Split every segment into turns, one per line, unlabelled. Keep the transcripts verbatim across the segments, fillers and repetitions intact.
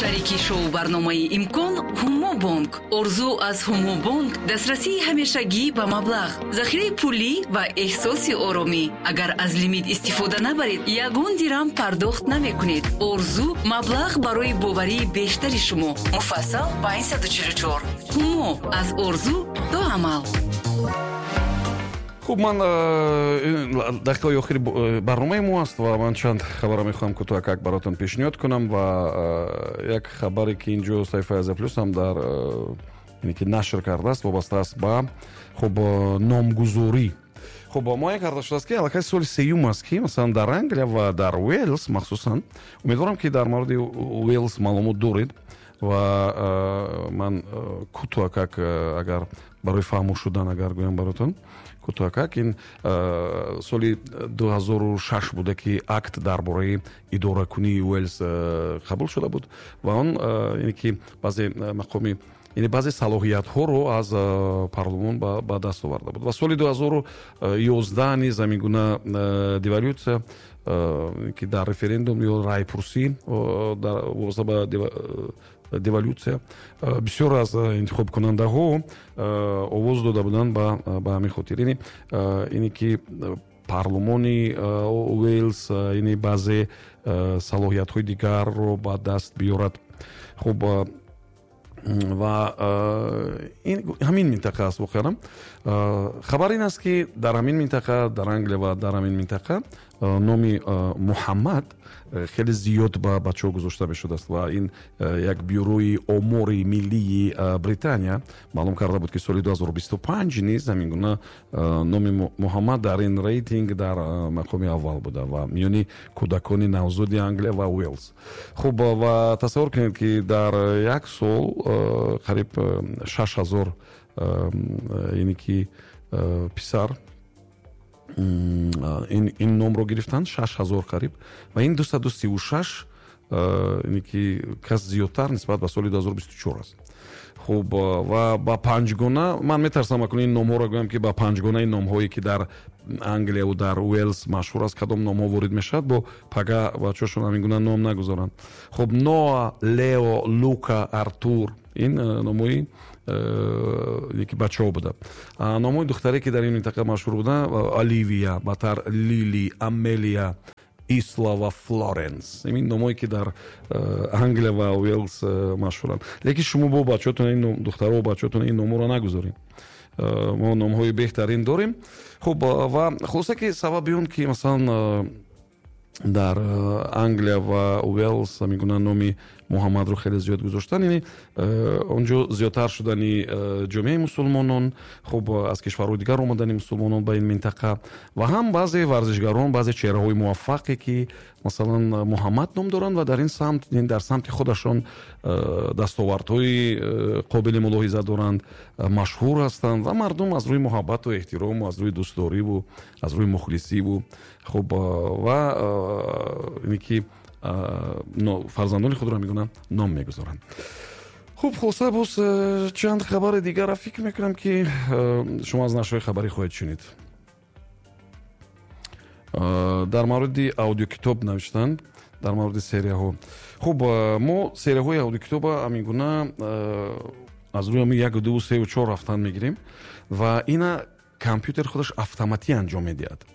Шарики шоу барномаи «Имкон» Ҳумобонк. Орзу аз Ҳумобонк дастрасии ҳамешагӣ ба маблағ, захираи пулӣ ва эҳсоси оромӣ. Агар аз лимит истифода набаред, ягон дирам пардохт намекунед. Орзу маблағ барои боварии бештари шумо. Муфассал панҷсаду чилу чор. Ҳумо, аз орзу то амал.
Хуб, ман э, дақиқаҳои охири э, барномаи мо аст ва ман чанд хабарро мехоҳам кӯтоҳакак баротон пешниҳод кунам. Ва э, як хабаре, ки инҷо саҳифаи Азия Плюс ҳам дар ки нашр кардааст, вобаста аст ба, хуб, номгузорӣ. Хуб, муайян карда шудааст, ки аллакай соли сеюм аст, ки масалан дар Англия ва дар Уэлс махсусан, умедворам, ки дар мавриди Уэлс маълумот доред, ва ман кӯтоҳакак, агар барои фаҳмо шудан, агар гӯям баротон кӯтоҳакак, ин соли дуҳазору шаш буда, ки акт дар бораи идоракунии Уэлс қабул шуда буд ва он яъне ки баъзе мақоми, яъне баъзе салоҳиятҳоро аз парлумон ба даст оварда буд. Ва соли дуҳазору ёздаҳ низ ҳамин гуна деволюция, ки дар референдум ё райпурсӣ вобаста ба деволюция бисёр аз интихобкунандаҳо овоз дода буданд. ба ҳамин хотир ине ине ки парлумони Уэлс ине баъзе салоҳиятҳои дигарро ба даст биёрад. Хуб, ва ҳамин минтақа аст. Воқеан, хабар ин аст, ки дар ҳамин минтақа, дар Англия ва дар ҳамин минтақа номи Муҳаммад хеле зиёд ба бачаҳо гузошта мешудааст. Ва ин як бюрои омори миллии Британия маълум карда буд, ки соли ду ҳазору бисту панҷ низ ҳамин гуна номи Муҳаммад дар ин рейтинг дар мақоми аввал буда ва миёни кӯдакони навзоди Англия ва Уэлс. Хуб, ва тасаввур кунед, ки дар як сол қариб шаш ҳазор яъне ки писар ин номро гирифтанд, шаш ҳазор қариб, ва ин дусаду сиву шаш яъне ки кас зиёдтар нисбат ба соли дуҳазору бисту чор аст. Хуб, ва ба панҷгона, ман метарсам акун ин номҳоро гӯям, ки ба панҷгонаи номҳое, ки дар Англияву дар Уэлс машҳур аст, кадом номҳо ворид мешавад, бо пага бачаҳошон ҳамин гуна ном нагузоранд. Хуб, Ноа, Лео, Лука, Артур, ин номҳои яки бачаҳо буда. Номҳои духтаре, ки дар ин минтақа машҳур буда: Оливия, батар Лили, Амелия, Исла ва Флоренс. Ин номҳое, ки дар Англия ва Уэлс машҳуранд. Лекин шумо бо бачаҳотон, ин духтаро, бачаҳотон ин номҳоро нагузоред, мо номҳои беҳтарин дорем. Хуб, ва хулоса, ки сабаби он ки масалан дар Англия ва Уэлс ҳамин гуна номи Муҳаммадро хеле зиёд гузоштан, яъне он ҷо зиёдтар шудани ҷомеаи мусулмонон, хуб, аз кишварҳои дигар омадани мусулмонон ба ин минтақа ва ҳам баъзе варзишгарон, баъзе чеҳраҳои муваффақе, ки масалан Муҳаммад ном доранд ва дар ин самт, дар самти худашон дастовардҳои қобили мулоҳиза доранд, машҳур ҳастанд ва мардум аз рӯи муҳаббату эҳтирому аз рӯи дӯстдориву аз рӯи мухлисиву, хуб, ва ине ки фарзандони худро мегӯнанд, ном мегузоранд. Хуб, хулоса, боз чанд хабари дигарро фикр мекунам, ки шумо аз нашрҳои хабарӣ хоҳед шунид. Дар мавриди аудиокитоб навиштанд, дар мавриди серияҳо. Хуб, мо серияҳои аудиокитоба ҳамин гуна аз рӯи ҳамин як, ду, сеу чор рафтан мегирем ва ина компютер худаш автоматӣ анҷом медиҳад.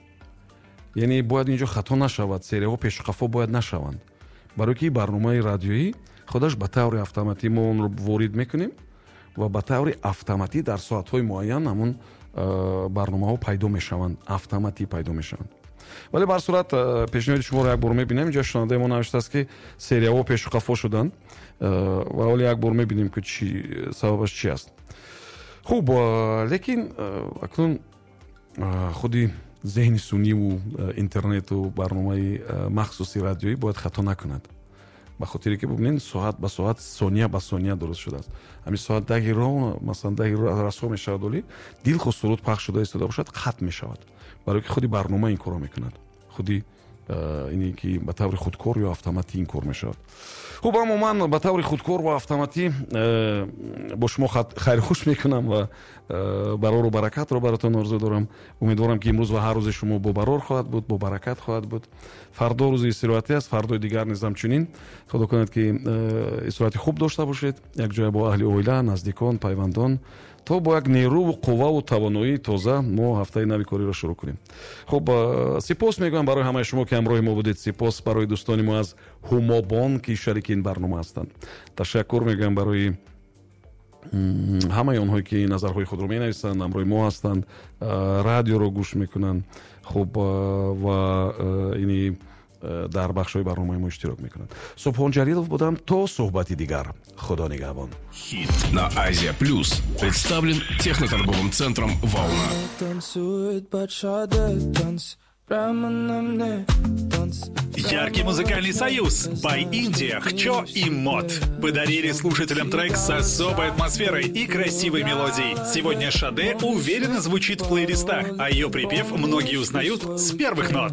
Яъне бояд инҷо хато нашавад, серияҳо пешу қафо бояд нашаванд, барои ки барномаи радиоӣ худаш ба таври автоматӣ, мо онро ворид мекунем ва ба таври автоматӣ дар соатҳои муайян ҳамон барномаҳо пайдо мешаванд, автоматӣ пайдо мешаванд. Вале ба ҳар сурат пешниҳоди шуморо як бор мебинем. Инҷо шунавандаи мо навиштааст, ки серияҳо пешу қафо шуданд, ва ҳоле як бор мебинем, ки чи сабабаш чи аст. Хуб, лекин акнун худи зеҳни сунъиву интернету барномаи махсуси радиоӣ бояд хато накунад, ба хотире ки бубинед, соат ба соат, сония ба сония дуруст шудааст. Ҳамин соат даҳи ро, масалан, даҳи расо мешавад, оли дилхоҳ суруд пахш шуда истода бошад, қатъ мешавад, барои ки худи барнома ин корро мекунад, худи Ине ки ба таври худкор ё автоматӣ ин кор мешавад. Хуб, аммо ман ба таври худкор ва автоматӣ бо шумо хайрхуш мекунам ва барору баракатро баротон орзу дорам. Умедворам, ки имрӯз ва ҳар рӯзи шумо бо барор хоҳад буд, бо баракат хоҳад буд. Фардо рӯзи истироҳатӣ аст, фардои дигар низ ҳамчунин. Худо кунад, ки истироҳати хуб дошта бошед якҷоя бо аҳли оила, наздикон, пайвандон, то бо як нерӯву қувваву тавоноии тоза мо ҳафтаи нави кориро шурӯъ кунем. Хуб, сипос мегӯям барои ҳамаи шумо, ки ҳамроҳи мо будед. Сипос барои дӯстони мо аз Ҳумобонк, ки шарики ин барнома ҳастанд. Ташаккур мегӯям барои ҳамаи онҳое, ки назарҳои худро менависанд, ҳамроҳи мо ҳастанд, радиоро гӯш мекунанд, хуб, ва ини дар бахшҳои барномаи мо иштирок мекунанд. Субҳон Ҷалилов будам. То суҳбати дигар, Худо нигаҳбон.
Хит на Азия Плюс представлен техноторговым центром «Волна».
Танцует под Шаде танц прямо на мне танц.
Яркий музыкальный союз By India, Хчо и Мот подарили слушателям трек с особой атмосферой и красивой мелодией. Сегодня Шаде уверенно звучит в плейлистах, а ее припев многие узнают с первых нот.